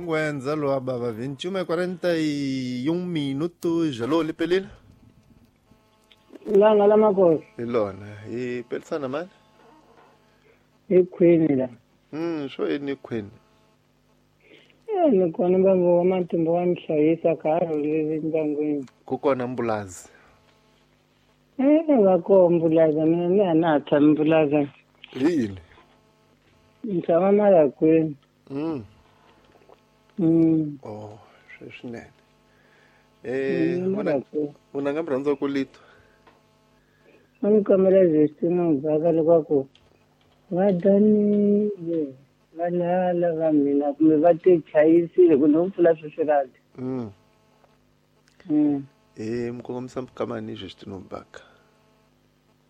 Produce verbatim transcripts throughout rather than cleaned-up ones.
Ingwenza lo baba vinte e uma e quarenta e um minutos. Alô, Lipelile? Langa la makosi. Ilona, i pelisana mani? I khwini la. Mm, swo yini khwini? Eh, ni kona baba wa matimba wa mhlayisa ka rhulile ndyangwini. Ku kona mbulazi. Eh, va koho mbulaza mina ni a na ha tshami mbulaza. Hi yini? Ni tshama Malakwini. Mm. Mm. Oh, swinene. Eh, Mm, vona Malakwini. vona nga mi rhandza ku litwa. A ni kombela Justina Mubhaka leswaku va danile valala va mina kumbe va ti chayisile ku no pfula sweswi radi. Mm. Mm. Eh, mi kongomisa kamani Justina Mubhaka.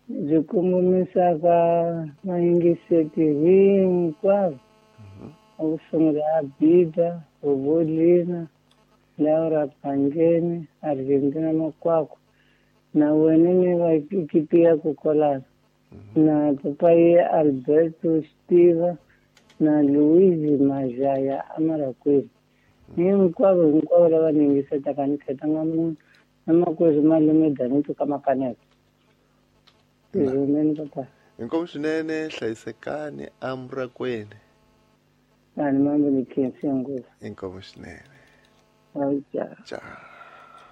Byi kongomisaka vayingiseti hinkwavo. A ku sungula Abida, Bobolina, Laura Pangeni, Argentina Makwakwa na wena ni va ekipi ya Kokolana na papayi Alberto Stiva na Louise Majaya Amarakwini. Hinkwavo hinkwavo lava ni yingisetaka ni khetanga munhu na makwerhu malume Danito ka Makaneta. Tizumeni papa. Inkomu swinene hlayisekani amurakwini. Ani mambo ni khensi ngopfu. Inkomu swinene. Awu ja. Tchau.